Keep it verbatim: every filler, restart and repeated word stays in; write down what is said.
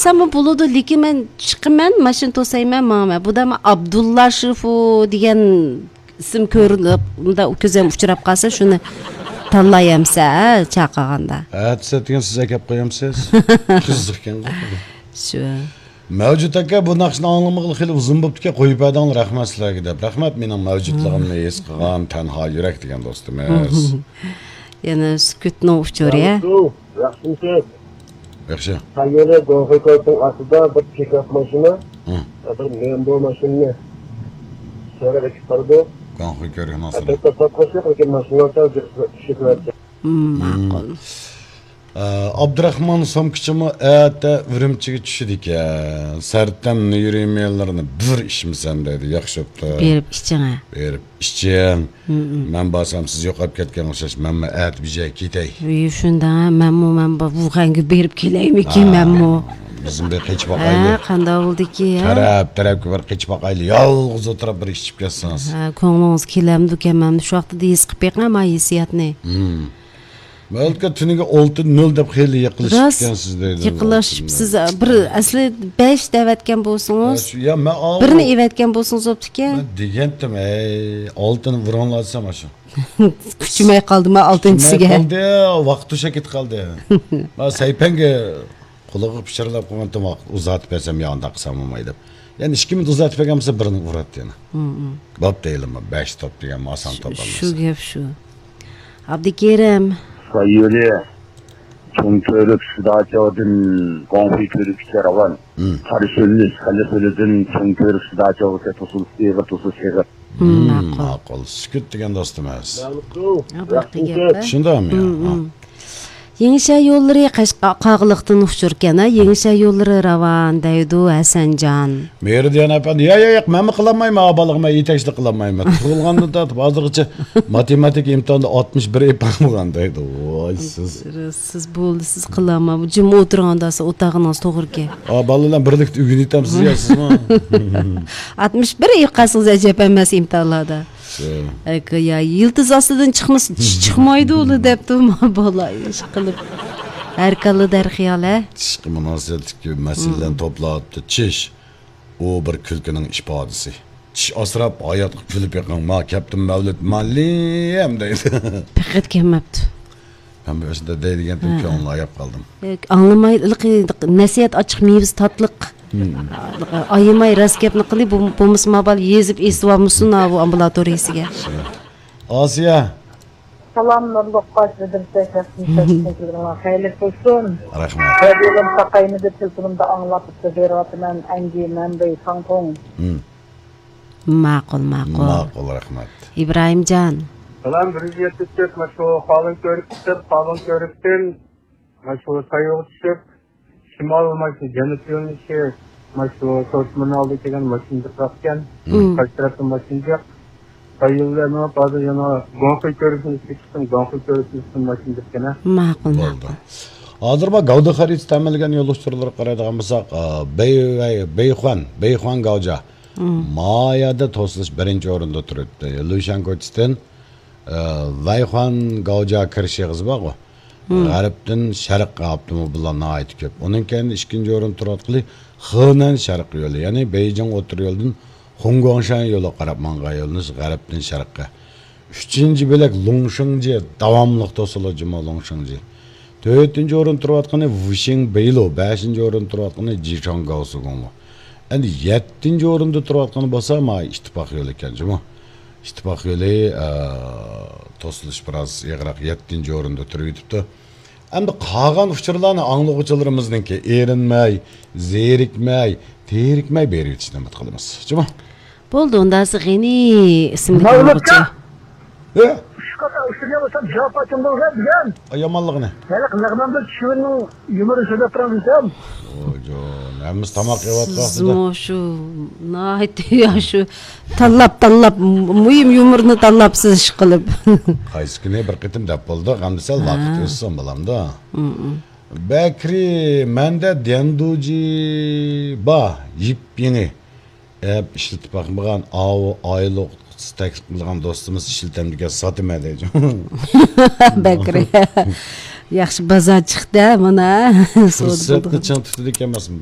سەنمۇ بولىدۇ، لېكىن مەن چىقىمەن، ماشىنا توسايمەن، ماڭىمەن. بۇ دەم ئابدۇللا شىفۇ دېگەن ئىسىم كۆرۈلۈپ، مۇنداق كۆزۈم ئۇچراپ قالسا، شۇنى تاللايمسە، ھە، چاقىرغاندا. ئەتىسى ئەتىگەن سىز ئەكەپ قويامسىز؟ قىزىق ئىكەن. شۇ. مەۋجۇت ئاكا، بۇ ناخشىنى ئاڭلىمىغىلى خېلى ئۇزۇن بوپتىكەن، قويۇپ بەردىڭلار، رەھمەت سىلەرگە دەپ. رەھمەت، مېنىڭ مەۋجۇتلۇقۇمنى ھېس قىلغان تەنھا يۈرەك دېگەن دوستىمىز. يەنە سۈكۈتنىڭ ئۇچۇرى، ھە؟ ياخشىمۇ؟ ياخشى. سەييارە گۇاڭخۇي كۆۋرۈكنىڭ ئاستىدا بىر پىكاپ ماشىنا، ھە، بىر مەنبۇ ماشىنىنى سۆرەپ ئېكىپ بارىدۇ. گۇاڭخۇي كۆۋرۈكنىڭ ئاستىدا. ئەلۋەتتە، ساتقۇچى يوق، لېكىن ماشىنىلار سەل جىق-، جىقلىۋەتكەن. مم، ماقۇل. ئە، ئابدۇراخمان سومكىچىمۇ ئەتە ئۈرۈمچىگە چۈشىدىكەن. سەرتەم نېرۋىلىرىنى بىر ئىچمىسەم دەيدۇ. ياخشى بوپتۇ. بېرىپ ئىچىڭە. بېرىپ ئىچىڭ. مم. مەن بارسام سىز يوقاپ كەتكەن ئوخشاش، مەنمۇ ئەتە بىر جايغا كېتەي. ئى، شۇنداق، مەنمۇ، مەن بار، ۋۇخەنگە بېرىپ كېلەيمىكىن، ھە، مەنمۇ. بىزمۇ بىر قېچىپ باقايلى. ھە، قانداق بولدىكى، ھە؟ تەرەپ، تەرەپكە بىر قېچىپ باقايلى. يالغۇز ئولتۇرۇپ بىر ئىچىپ كەتسىڭىز. ھە، كۆڭلىڭىز كېلەمدۇكەن، مەن شۇ ۋاقىتتا ھېس قىلىپ بېقىڭ، ما ھېسسىياتنى. مم. مەلىكە تۈنىگە ئالتە نۆل دەپ خېلى يېقىنلىشىپتىكەنسىز دەيدۇ. يېقىنلىشىپسىز. بىر ئەسلى بەش دەۋەتكەن بولسىڭىز، ھە، شۇ، يا، مەن ئاۋۇ بىرنى ئېۋەتكەن بولسىڭىزوپتىكەن. مەن دېگەنتىم، ھەي، ئالتىنى ئۇرۇڭلار دېسەم، ئاشۇ. كۈچىمەي قالدىما، ئالتىنچىسىگە. كۈچىمەي قالدى، ۋاقىت توشۇپ كېتىپ قالدى. مەن سەيپەنگە قۇلىقىغا پىچىرلاپ قويغانتىم، ۋاقىت ئۇزارتىپ بەرسەم يا ئانداق قىلسام بولماي دەپ. يەنە ئىككى مىنۇت ئۇزارتىپ بەرگەن بولسا، بىرنى ئۇراتتى يەنە. مم، مم. بوپتۇ، ھېلىمۇ بەش توپ دېگەن ئاسان توپ شۇ، ئەمەس. شۇ گەپ شۇ. ئابدۇكېرىم. ساييولى چوڭ كۆۋرۈك سىداچاۋدىن گۇاڭخۇي كۆۋرۈككىچە راۋان. مم. قارا شۆللۈس، خەلە شۆلىدىن چوڭ كۆۋرۈك سىداچاۋغىچە توسۇلۇش ئېغىر، توسۇلۇش ئېغىر. مم، مم، ماقۇل. ماقۇل. سۈكۈت دېگەن دوستىمىز. ماقۇل. شۇنداقمۇ يا؟ مم، مم. يېڭىشەھەر يوللىرى قەشقەر قاغىلىقتىن ئۇچۇركەن، ھە؟ يېڭىشەھەر يوللىرى راۋان دەيدۇ ھەسەنجان. مېرىدىيان ئەپەندى، يا، يا، ياق، مەنمۇ قىلالمايمەن، ئا بالىغا مەن يېتەكچىلىك قىلالمايمەن. تۇغۇلغاندىن تارتىپ ھازىرغىچە ماتېماتىكا ئىمتىھانىدا ئاتمىش بىر ئېلىپ بارمىغان دەيدۇ. ۋاي سىز. سىز بولدى، سىز قىلالماي، جىم ئولتۇرغاندا سىز ئوتاغىنىڭىز توغرىكەن. ئا، بالىلار بىرلىكتە ئۆگىنىۋېتەمسىز يا سىزمۇ؟ ئاتمىش بىر ئېلىپ قالسىڭىز ئەجەب ئەمەس ئىمتىھانلاردا. شۇ. ئەكە، يا، يىلتىز ئاستىدىن چىقمىسا، چىش چىقمايدۇ ئۇلار دەپتۇ، ما بالا ئىش قىلىپ. ھەر كاللا دەرخىيال، ھە؟ چىشقا مۇناسىۋەتلىك مەسىلىلەرنى توپلاپتۇ. چىش، ئۇ بىر كۈلكىنىڭ ئىپادىسى. چىش ئاسراپ، ھاياتقا كۈلۈپ بېقىڭ. ما، كەپتىن مەۋلۇت مۇئەللىم دەيدۇ. پەقەت كەلمەپتۇ. مەن بۇ ئىشتا دەيدىگەنتىم، ھە، كۆڭلۈڭنى ئاياپ قالدىم. ئاڭلىماي، نەسىھەت ئاچچىق، مېۋىسى تاتلىق. ئايىماي راست گەپنى قىلى، بولمىسا ما بالا يېزىپ ئېسىۋالمىسۇن، ھا، بۇ ئامبۇلاتورىيىسىگە. ئاسىيە. سالام، نۇرلۇق قاش، بەدرۇددىن شەخسىي تەكلىپىڭلار خەيرلىك بولسۇن. رەھمەت. رادىيولارنى تاقايمىدى، تېلېفونۇمدا ئاڭلاپ بېرىۋاتىمەن، ئەنجى، مەنبەي، ساڭتۇڭ. مم. ماقۇل، ماقۇل. ماقۇل، رەھمەت. ئىبراھىمجان. سالام، بىر يۈز يەتتە تۆت، ماشۇ قالۇن كۆۋرۈك چىقىپ، قالۇن كۆۋرۈكتىن ماشۇ سايوغا چۈشۈپ، شىمال ماشۇ جەنۇب يۆنىلىشى، ماشۇ سوتمۇنالدا كەلگەن ماشىنا جىقراقكەن. مم. قايسى تەرەپتىن ماشىنا جىق؟ سايوغا مېڭىپ، ھازىر يەنە گۇاڭخۇي كۆۋرۈكىنى چىقتىم، گۇاڭخۇي كۆۋرۈكىنى ماشىنا جىقكەن، ھە؟ ماقۇل، بولدى. ماقۇل. ھازىر بار گاۋدا خەرىتىسى تەمىنلىگەن يول ئۇچۇرلىرىغا قارايدىغان بولساق، ئا، بېي-، بېيخۇەن، بېيخۇەن گاۋجا. مم. ما يەردە توسۇلۇش بىرىنچى ئورۇندا تۇرۇپتۇ. لۇشيەن كوچىسىدىن، ئە، ۋەيخۇەن گاۋجا كىرىش ئېغىزى بارغۇ. مم. غەربتىن شەرققە ئاپتوموبىللار ناھايىتى كۆپ. ئۇنىڭ كەينىدىن ئىككىنچى ئورۇندا تۇرۇۋاتقىلى خېنەن شەرق يولى، يەنى بېيجىڭ ئوتتۇرا يولىدىن خۇڭگۇاڭشەن يولىغا قاراپ ماڭغان يۆنىلىش غەربتىن شەرققە. ئۈچىنچى بۆلەك لۇڭشىڭجى، داۋاملىق توسۇلىدۇ جۇمۇ لۇڭشىڭجى. تۆتىنچى ئورۇن تۇرۇۋاتقىنى ۋۇشىڭ بېيلۇ، بەشىنچى ئورۇن تۇرۇۋاتقىنى جىشاڭ گاۋسىگۇڭلۇ. ئەمدى يەتتىنچى ئورۇندا تۇرۇۋاتقىنى بولسا ما ئىتتىپاق يولى ئىكەن جۇمۇ. ئىتتىپاق يولى، ئە، توسۇلۇش بىراز ئېغىرراق، يەتتىنچى ئورۇندا تۇرۇۋېتىپتۇ. ئەمدى قالغان ئۇچۇرلارنى ئاڭلىغۇچىلىرىمىزنىڭكى ئېرىنمەي، زېرىكمەي، تېرىكمەي بېرىۋېتىشنى ئۈمىد قىلىمىز. جۇمۇ. بولدى، ئۇندا سىز غېنى ئىسىملىك ئاڭلىغۇچى. ھە؟ ئۈچ قاتا ئۇچۇرنى بولسام جاپا چوڭ بولغان دېگەن. ئا، يامانلىقىنى. ھېلىقى لەغمەندە چۈشۈرۈننىڭ يۇمۇرى سۆزلەپ تۇرام دېسەم. ۋايجان، ھەممىسى تاماق يەۋاتقان ۋاقتىدا. سىزمۇ شۇ ناھايىتى يا شۇ تاللاپ، تاللاپ، مۇھىم يۇمۇرنى تاللاپسىز ئىشقىلىپ. قايسى كۈنى بىر قېتىم دەپ بولدۇق، ئەمدى سەل ھە. ۋاقىت ئۆتسۇن، بالامدا. مم. بەكرى، مەندە ديەندۇجى بار، يېپيېڭى. ئەپ ئىشلىتىپ باقمىغان ئاۋۇ ئايلۇق تەكلىپ قىلغان دوستىمىز ئىشلىتەمدىكەن، ساتىمەن دەيدۇ. بەكرى. ياخشى بازار چىقتى، مانا. سودا پۇرسەتنى بولدى. چىڭ تۇتىدىكەن ئەمەسمۇ؟